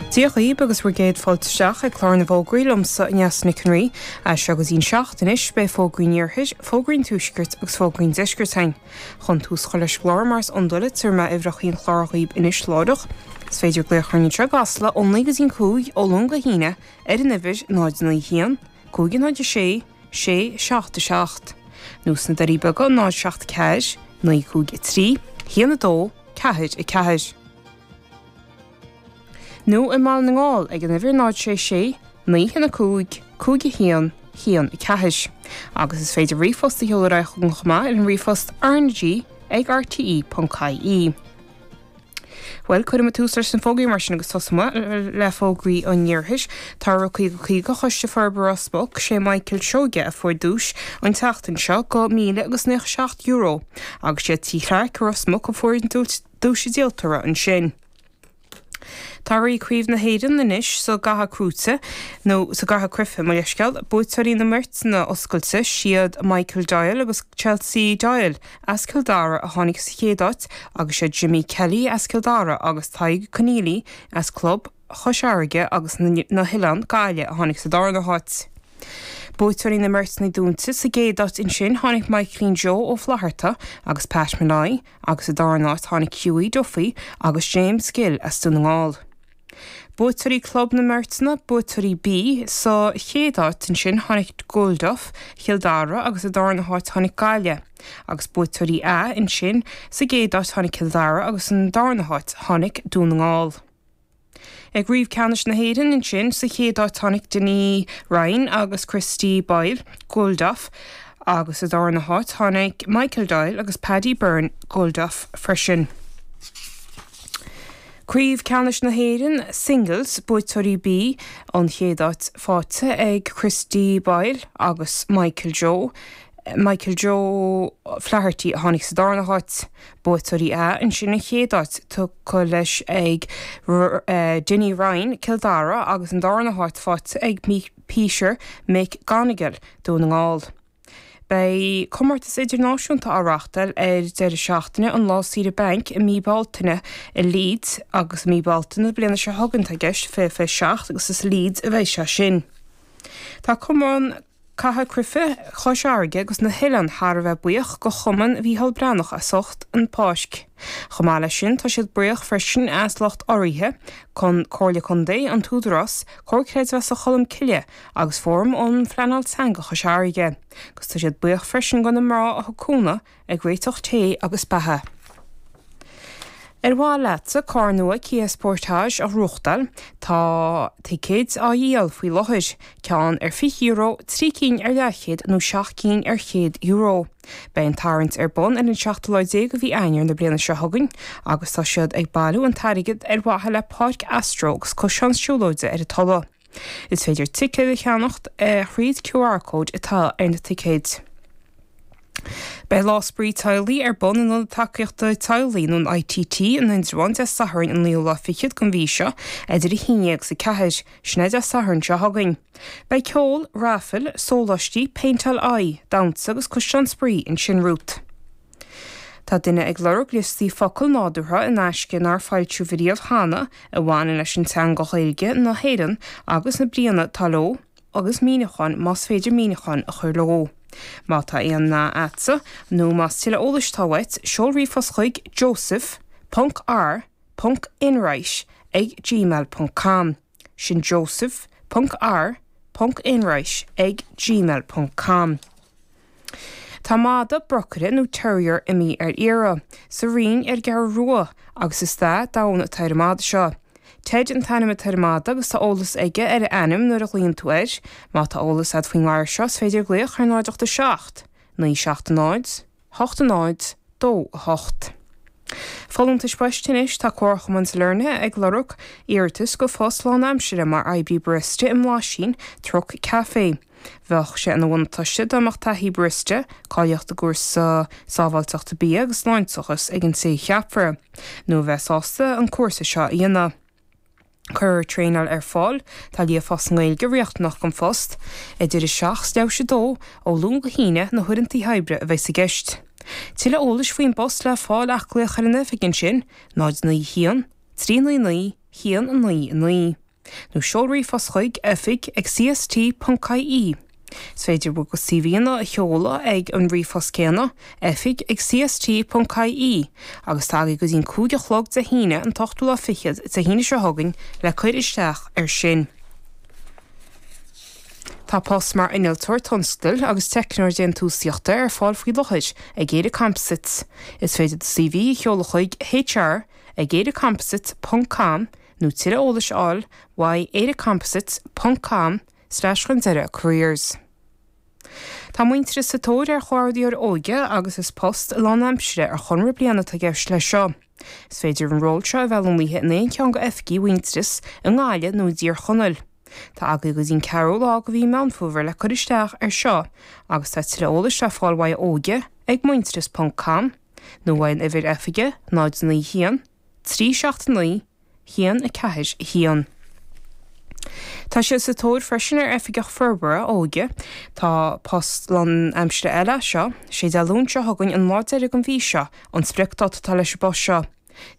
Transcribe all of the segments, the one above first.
Dia dhaoib agus bhur gcéad fáilte isteach ag clár na bhfógraí liomsa, Neasa Nic an Rí. As seo go dtí'n seacht anois, beidh fógraí an Iarthair, fógraí an Tuaiscirt agus fógraí an Deiscirt againn. Chun tús a chur leis an gclár, mar is iondúil, tabharfaidh mé uimhreacha an chláir dhaoib anois láithreach. Is féidir glaoch orainn anseo i gCasla ó 9 go dtí'n 5 ó Luan go hAoine ar an uimhir 0 9 1 5 0 6 6 7 7 nó sna Doirí Beaga 0 7 4 9 5 3 1 2 4 4. Nó i mBaile na nGall ag an uimhir 0 6 6 9 1 5 5 1 1 4. Agus is féidir ríomhphost a sheoladh ar aghaidh chugainn chomh maith ar an ríomhphost rnag ag rte.ie. Bhuel, cuirfidh muid tús leis na fógraí mar sin agus tosóidh muid le fógraí an Iarthair. Tá Rith 50 50 Choiste Forbartha Ros Muc, sé Michael Seoige a fuair duais an tseachtain seo go míle agus €97 agus siad Tí Chlarke Ros Muc a fuair an duais díoltóra ansin. Tá Rith Craobh na hÉireann anois sa gcaitheamh crúite, nó sa gcaitheamh cruife, mo leithscéal. Buaiteoirí na mbeirteanna oscailte, siad Michael Doyle agus Chelsea Doyle as Cill Dara a tháinig sa chéad áit agus siad Jimmy Kelly as Cill Dara agus Tadhg Conneely as Club Chois Fharraige agus na hOileán, Gaillimh a tháinig sa darna háit. Buaiteoirí na mbeirteanna dúnta, sa gcéad áit ansin tháinig Michaelín Joe Ó Flatharta agus Pat Molloy, agus sa darna háit tháinig Hughie Duffy agus James Gill as Dún na nGall. Buaiteoirí Club na mBeirteanna, Buaiteoirí B, sa chéad áit ansin tháinig Guilduff, Chill Dara agus sa darna háit tháinig Gaillimh, agus Buaiteoirí A ansin, sa gcéad áit tháinig Cill Dara agus san darna háit tháinig Dún na nGall. I gCraobh Ceannais na hÉireann ansin, sa chéad áit tháinig Denis Ryan agus Christy Boyle, Guilduff, agus sa darna háit tháinig Michael Doyle agus Paddy Byrne, Guilduff, freisin. Craobh Ceannais na hÉireann, Singles, Buaiteoirí B, an chéad áit faighte ag Christy Boyle agus Michael Joe, Michael Joe Flaherty a tháinig sa darna háit. Buaiteoirí A ansin an chéad áit tugtha leis ag Dinny Ryan, Cill Dara agus an darna háit faighte ag Peter Mc Gonagle, Dún na nGall. Beidh comórtas idirnáisiúnta á reáchtáil ar deireadh seachtaine an Lá Saoire Bainc i mí Bealtaine i Leeds agus i mí Bealtaine na bliana seo chugainn atá i gceist, 2027, agus is i Leeds a bheidh sé sin. Tá Cumann Catha Cruife Chois Fharraige agus na hOileán thar a bheith buíoch go Chumann Mhícheál Breathnach as ucht an Pháisc. Chomh maith leis sin tá siad buíoch freisin as lucht urraithe, Con, Comhairle Contae, an tÚdarás, Comhar Creidmheasa Cholmcille agus Fóram um Phleanáil Teanga Chois Fharraige. Agus tá siad buíoch freisin go na mná a thug cúnamh ag réiteach tae agus beatha. Ar mhaith leatsa carr nua Kia Sportage a ghnóthachtáil? Tá ticéid á dhíol faoi láthair, ceann ar €20, 3 cinn ar leathchéad nó 7 cinn ar €100. Beidh an tarraingt ar bun ar an seachtú lá déag de mhí Eanáir na bliana seo chugainn agus tá siad ag bailiú an t-airgead ar mhaithe le Páirc Astro agus coiseán siúlóide ar an Tulaigh. Is féidir ticéid a cheannacht thríd QR cóid atá ar na ticéid. Beidh Lá Spraoi Teaghlaigh ar bun in Ionad Tacaíochta Teaghlaigh nó an ITT in Indreabhán Dé Sathairn an naoú lá fichead den mhí seo idir 11 agus 4, sin é Dé Sathairn seo chugainn. Beidh ceol, raifil, sóláistí, péinteáil aghaidh, damhsa agus ciseán spraoi ansin romhat. Tá duine ag lorg liostaí focal nádúrtha in aisce nár foilsíodh riamh cheana a bhaineann leis an teanga Ghaeilge na hÉireann agus na bríonna atá leo agus míniúcháin más féidir míniúcháin a chur leo. Má tá aon nath a'dsa nó más tuilleadh eolais atá uait, seol ríomhphost chuig joseph ponc r ponc enright ag gmail ponc com. Sin joseph ponc r ponc enright ag gmail ponc com. Tá mada brocaire nó terrier imithe ar iarraidh, sa Rinn ar an gCeathrú Rua, agus is dath donn atá ar an mada seo. Ted an t-ainm atá ar an mada agus tá eolas aige ar a ainm nuair a ghlaonn tú air. Má tá eolas agat faoin ngadhar seo is féidir glaoch ar 0 8 7 9 7 0 8 0 2 8. Folúntais poist anois, tá Comharchumann Sailearna ag lorg iarratas go phost lánaimsire mar oibrí barista i mBlaisín Truck Café. Bheadh sé ina bhuntáiste dá mbeadh taithí barista, cáilíocht i gcúrsa sábháilteachta bia agus sláinteachas ag an té a cheapfar, nó a bheith sásta an cúrsa seo a dhéanamh. Cuirfear traenáil ar fáil, tá líofacht sa nGaeilge riachtanach don phost, idir 7 's leathuair tar éis 2, ó Luan go hAoine, na huaireanta oibre a bheidh i gceist. Tuilleadh eolais faoin bpost le fáil ach glaoch ar an oifig ansin, 0 9 1 3 9 9. 1 9 9. Nó seol ríomhphost chuig oifig ag cst.ie. Is féidir bhur gcuid CVanna a sheoladh ag an ríomhphost céanna, oifig ag cst.ie, agus tá agaibh go dtí'n 5 a chlog Dé hAoine an t-ochtú lá fichead, Dé hAoine seo chugainn, le cur isteach air sin. Tá post mar Innealtóir Tionscadail agus Teicneoir Déantúsaíochta ar fáil faoi láthair ag ÉireComposites. Is féidir do CV a sheoladh chuig hr ag eirecomposites ponc com nó tuilleadh eolais a fháil uaidh eirecomposites ponc com slash chun deireadh careers. Tá Muintearas sa tóir ar Chomhordaitheoir Óige agus is post lánaimsire ar chonradh bliana atá i gceist leis seo. Is féidir an ról seo a bheith lonnaithe in aon cheann de oifigí Mhuintearas i nGaillimh nó i dTír Chonaill. Tá agaibh go dtí'n ceathrú lá de mhí Meán Fómhair le cur isteach air seo agus tá tuilleadh eolais le fáil uaidh óige ag muintearas ponc com nó uaidh an uimhir oifige 0 9 1 3 7 9 1 4 1. Tá siad sa tóir freisin ar Oifigeach Forbartha Óige. Tá post lánaimsire eile é seo. Sé Dé Luain seo chugainn an lá deiridh den mhí seo an spriocdáta atá leis an bpost seo.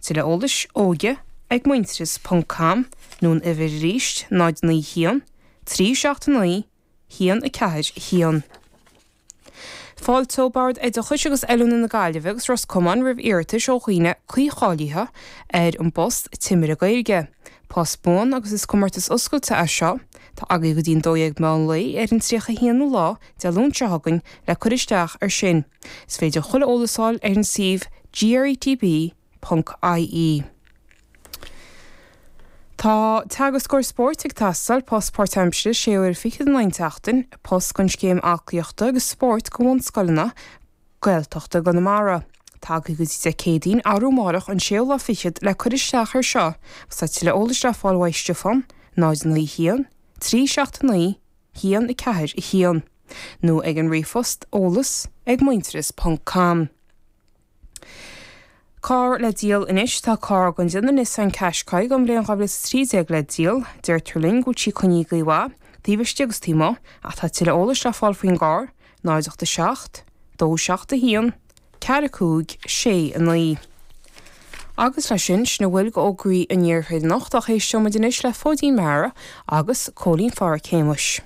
Tuilleadh eolais, óige ag muintearas ponc com nó an uimhir arís 0 9 1 3 7 9 1 4 1. Fáilteoidh Bord Oideachais agus Oiliúna na Gaillimhe agus Ros Comáin roimh iarratais ó dhaoine cuí-cháilithe ar an bpost Timire Gaeilge. Post buan agus is comórtas oscailte é seo. Tá agaibh go dtí an 12 meán lae ar an 31ú lá, Dé Luain seo chugainn, le cur isteach air sin. Is féidir chuile eolas a fháil ar an suíomh gretb. Ponc ie. Tá teagascóir spóirt ag teastáil, post páirtaimsire, sé uaire fichead in aghaidh an tseachtain, post don scéim aclaíochta agus spóirt do bhunscoileanna Gaeltachta i gConamara. Tá agaibh go dtí Dé Céadaoin, arú amárach, an séú lá fichead, le cur isteach air seo agus tá tuilleadh eolais le fáil uaidh Stiofán, 0 9 1 3 7 9 1 4 1, nó ag an ríomhphost eolas ag muintearas ponc com. Carr le díol anois Tá carr den déanamh Nissan Qashqai den bhliain 2013 le díol. Deirtear linn go bhfuil sí coinnithe go maith, taobh istigh agus taobh amuigh, ach tá tuilleadh eolais le fáil faoin gcarr, 0 8 7 2 7 1 4 5 6 9. Agus leis sin, sin a bhfuil d'fhógraí an iarthair anocht ach éisteoidh muid anois le Fóidín Meara agus Cóilín Pháraic Shéamuis.